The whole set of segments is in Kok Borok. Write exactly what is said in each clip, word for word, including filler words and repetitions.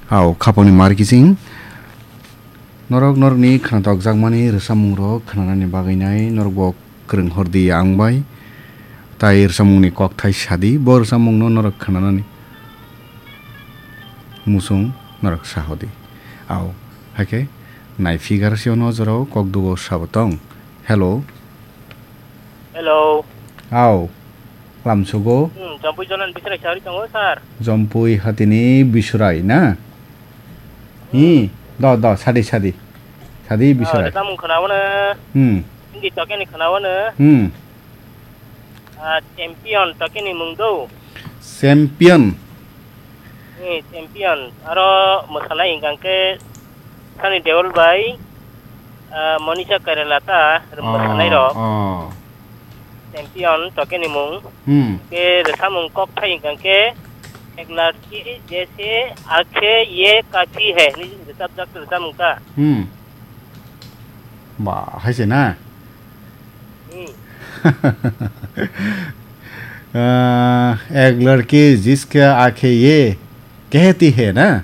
Hao, khapangni mar kiching. Norok norokni khnatok jakmani rwchapmungrok khnanani bagwi nai norok bo kwrwng hor di ang bai. Tai rwchapmungni kokthai sa di, bo rwchapmungno norok khnanani muchung norok sa hodi. Ao, hakhe nai figure se ono jorao kok dugo sabo tong. Hello. Hello. Ao. Lamsugo. Hmm, Jompui Jonan Bisrai sari tongo, sir. Jompui hatini Bisrai na? Hmm. Hi, do, do, sadi, sadi. Sadi Bisrai. Rwchapmung khwnawano. Hmm. Hindi tokeni khwnawano. Hmm. Ah, champion tokeni mung do. Champion. Ni champion aro mwsanai hwnkha khe Sunny Deol bai, ah, Monisha Koirala ta mwsanai rok. Oh. Champion tokeni mung. Hmm. Ke rwchapmung kokthai hwnkha khe Ek Ladki Jaise Aankhe Ye Kaafi Hai ni rwchapjak rwchapmung ta. Hmm. Ba, hai se na? Hmm. Ah, ek ladki jiske aakhe ye kehti hai na?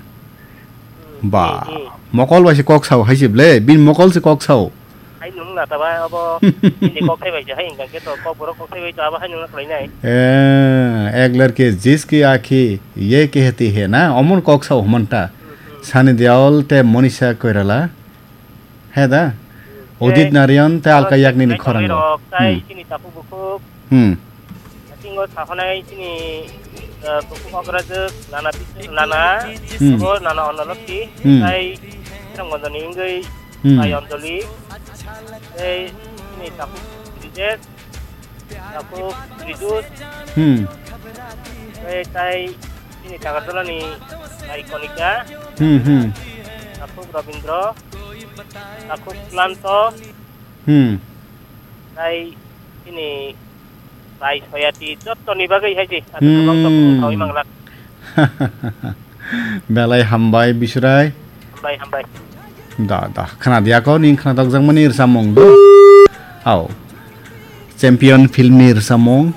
Hmm, ba, hmm, hmm. Mokol bai se kok sao hai se ble, bin mokol se kok sao. Hai nung na ta ba abo, hindi kok thai bai se, hai hwnkha khe to kok borok kok thai bai to abo hai nung na khlai nai. Eh, ek ladki jiske aakhe ye kehti hai na, omon kok sao hman ta. Hmm, hmm. Sunny Deol te Monisha Koirala. He da? Hmm. Udit Narayan tei Alka Yagnik ni khorang rok. Tai chini takhuk bukhuk. Hmm. Atingo sakhonai chini, eh, bukhuk okrajwk Nana Bis-, Nana, hmm, Nana Onnolokti, hmm, tai Sronggonjoni wngwi, hmm, tai Anjali, tei chini takhuk Brijesh, takhuk Ridus, hmm, tei tai chini Agartala ni tai Konika, hmm, hmm, takhuk Robindro, takhuk Klanto, hmm, tai chini tai Soyati jottoni bagwi hai se, hmm, sawi manglak. Belai hambai Bisrai. Hambai, hambai. Da, da. Khna diya ko, ning khna tok jakmani rwchapmung do. Ao. Champion film ni rwchapmung.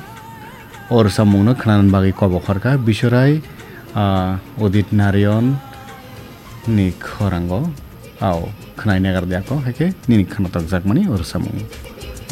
O rwchapmung no khna bagwi kobo khorka. Bisrai, ah, Udit Narayan ni khorango. Ao. Khna nagar diya ko, hai khe nini khna tok jakmani o rwchapmung.